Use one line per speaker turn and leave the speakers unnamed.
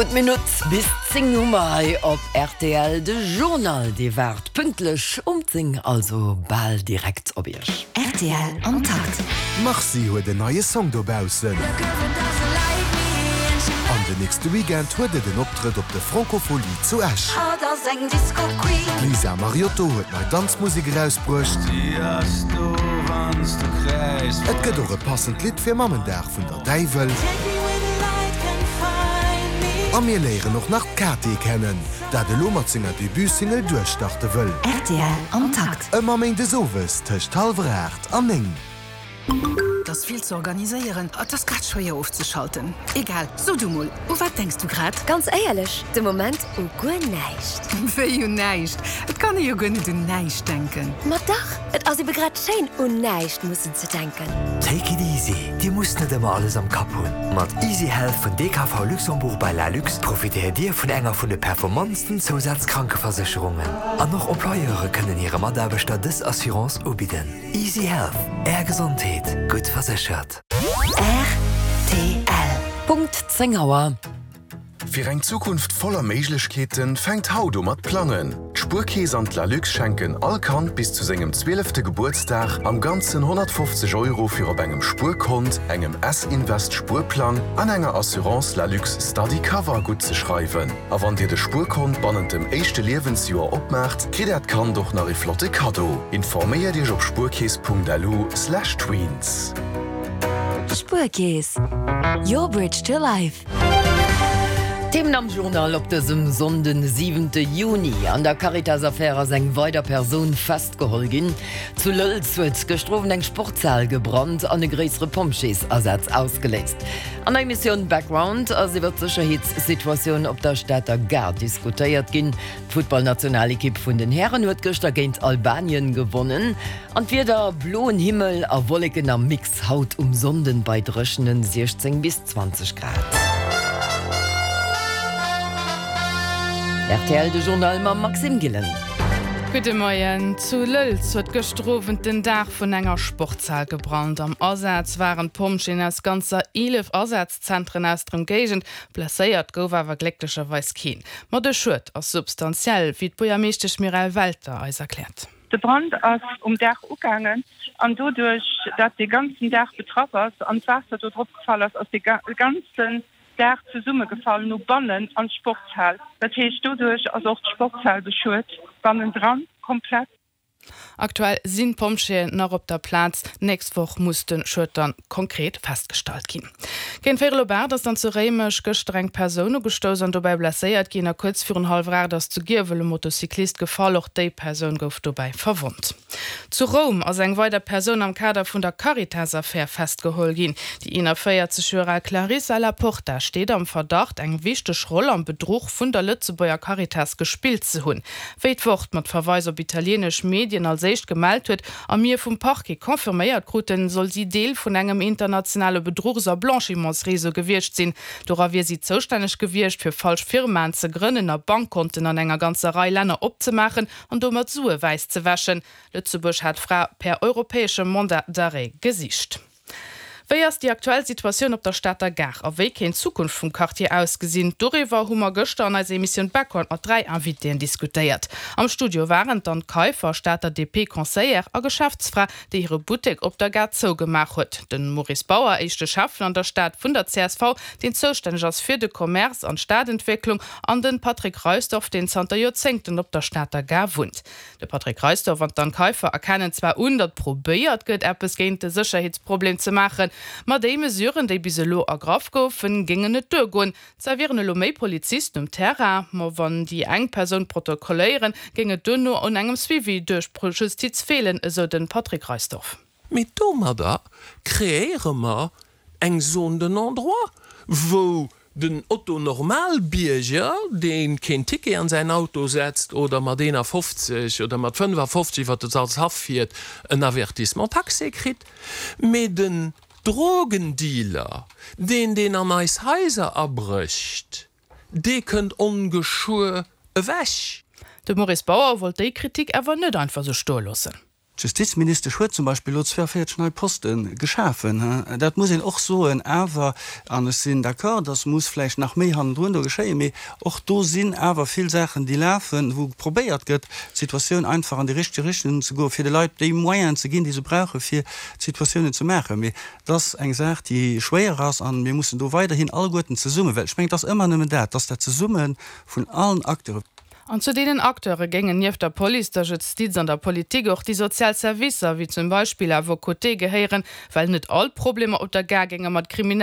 Gutt Minutt bis 10 hu mer hei op rtl. De Journal, dee waart pünktlech um 10, also bal direkt op Iech.
Rtl am Takt.
D'Marcy huet en neie Song dobaussen. An den nächste Weekend huet et en Optrëtt op de Francofolies zu Esch. D'Lisa Mariotto huet nei Danzmusek erausbruecht. Et gëtt och e passend Lidd fir Mammendag vun der. Däiwel. A mir léieren och nach d'Kate kennen, dat elo mat senger Debut-Single duerchstarte wëll.
Rtl am Takt.
Ëmmer méindes owes tëscht hallwer 8 an 9.
Et ass vill ze organiséieren, et ass grad schwéier ofzeschalten. Egal, so du mol, u wat denks du grad?
Ganz éierlech, de Moment u guer näischt.
Wéi un näischt? Et kann ee jo guer net un näischt denken.
Ma dach, et ass ebe grad schéin, un näischt mussen ze denken.
Take it easy, Dir musst net ëmmer alles am Kapp hunn. Mat Easy Health vun DKV Luxembourg by Lalux profitéiert Dir vun enger vun de performantsten Zousazkrankeversécherungen. An och Employeure kënnen hire Mataarbechter dës Assurance ubidden. Easy Health, Är Gesondheet, gutt verséchert.
Rtl.
Punkt 10 Auer.
Fir eng Zukunft voller Méiglechkeeten fänkt haut u mat plangen. D'Spuerkeess an d'Lalux schenken all Kand bis zu sengem zwielefte Gebuertsdag am Ganzen 150 Euro fir op engem Spuerkont, engem S-Invest Spuerplang an enger Assurance Lalux Study Cover guttzeschreiwen. A wann dir de Spuerkont bannent dem éischte Liewensjoer opmaacht, kritt äert Kand och nach ee flotte Kaddo. Informéiert iech op spuerkeess.lu/tweens.
Spuerkeess, your bridge to life.
Themen am Journal op dësem Sonnden, siwente Juni, An der Caritas-Affär ass eng weider Persoun festgeholl ginn. Zu Lëlz huet gëschter Owend eng Sportshal gebrannt an e gréissere Pompjeesasaz ausgeléist. An der Emissioun Background ass iwwer d'Sécherheetssituatioun op der Stater Gare diskutéiert ginn. D'Futtballnationalekipp vun den Hären huet gëschter géint Albanien gewonnen. An d'Wieder, Bloen Himmel a Wolleken am Mix haut um Sonnden bei dréchenen 16 bis 20 Grad. Rtl, de Journal mam Maxime Gillen.
Gudde Moien. Zu Lëlz huet gëschter Owend den Daach vun enger Sportshal gebrannt. Am Asaz waren d'Pompjeeën aus ganzer 11 Asazzentren aus der Ëmgéigend. Blesséiert gouf awer glécklecherweis keen. Ma de Schued ass substantiell, wéi d'Buergermeeschtesch Mireille Welter eis erkläert.
De Brand ass um Daach ugaangen an doduerch dat dee ganzen Daach betraff ass an d'Waasser do drop gefall ass, ass dee ganzen Daach zesummegefall no bannen an d'Sportshal. Dat heescht doduerch ass och d'Sportshal beschuet bannendran komplett.
Aktuell sinn d'Pompjeeën nach op der Plaz. D'nächst Woch muss de Schued dann konkret festgestallt ginn. Géint véierel op 8 ass dann zu Réimech gëschter eng Persoun ugestouss an dobäi blesséiert ginn a kuerz virun hallwer 8 ass zu Giewel e Motocyclist gefall. Och déi Persoun gouf dobäi verwonnt. Zu Roum ass eng weider Persoun am Kader vun der Caritas-Affär festgeholl ginn. Déi 41 Joer al Clarissa Laporta steet am Verdacht, eng wichteg Roll am Bedruch vun der Lëtzebuerger Caritas gespillt ze hunn. Wéi d'Wort mat Verweis op italieenesch Medien als éischt gemellt huet a mir vum Parquet confirméiert kruten, soll si Deel vun engem internationale Bedruchs a Blanchimentsreseau gewiescht sinn. Dora wier si zoustänneg gewiescht, fir falsch Firmaen ze grënnen a Bankkonten an enger ganzer Rei Länner opzemaachen an domat Sue wäiss ze wäschen. Lëtzebuerg hat d'Fra per europäeschem Mandat d'arrêt gesicht. Wéi ass déi aktuell Situatioun op der Stater Gare a wéi kéint d'Zukunft vum Quartier ausgesinn? Doriwwer hu mer gëschter an eiser Emissioun Background mat 3 Invitéen diskutéiert. Am Studio waren d'Anne Kaiffer, Stater DP-Conseillère a Geschäftsfra, déi hire Buttek op der Gare zougemaach huet, de Maurice Bauer, éischte Schäffen an der Stad vun der csv, deen zoustänneg ass fir de Commerce an d'Stadentwécklung, an de Patrick Reisdorff, deen zanter Joerzéngten op der Stater Gare wunnt. De Patrick Reisdorff an d'Anne Kaiffer erkennen zwar un, datt probéiert gëtt, eppes géint de Sécherheetsproblem ze maachen, ma déi Mesuren, déi bis elo ergraff goufen, géingen net duergoen. Zwar wieren elo méi Polizisten um Terrain, ma wann déi eng Persoun protokolléieren, géing et duerno un engem Suivi duerch d'Justiz feelen, esou de Patrick Reisdorff.
Mee domadder kreéiere mer eng Zone de non-droit, wou den Otto-Normalbierger, dee keen Ticket an säin Auto setzt oder mat 51 oder mat 55 iwwer de Salzhaff fiert, en Avertissement taxé kritt, mee den Drogendealer, deen, deen an eis Haiser abrécht, dee kënnt ongeschuer ewech.
De Maurice Bauer wollt déi Kritik awer net einfach sou stoe loossen.
D'Justizministesch huet zum Beispill elo 42 nei Poste geschafen. Dat muss een och soen. Awer, an ech sinn d'accord, dass muss vläicht nach méi hannendrun do geschéien, mee och do sinn awer vill Saachen, déi lafen, wou probéiert gëtt, d'Situatioun einfach an déi richteg Richtung ze goen, fir de Leit déi Moyenen ze ginn, déi se brauchen, fir d'Situatiounen ze maachen. Mee et ass eng Saach, déi schwéier ass, a mir mussen do weiderhin alleguerten zesummen, well ech mengen, et ass ëmmer nëmmen dat, et ass dat Zesumme vun allen Acteuren.
An zu deenen Acteure géingen nieft der Police, der Justiz an der Politik och déi sozial Servicer, wéi zum Beispill À vos côtés, gehéieren, well net all d'Problemer op der Gare géinge mat Kriminellen.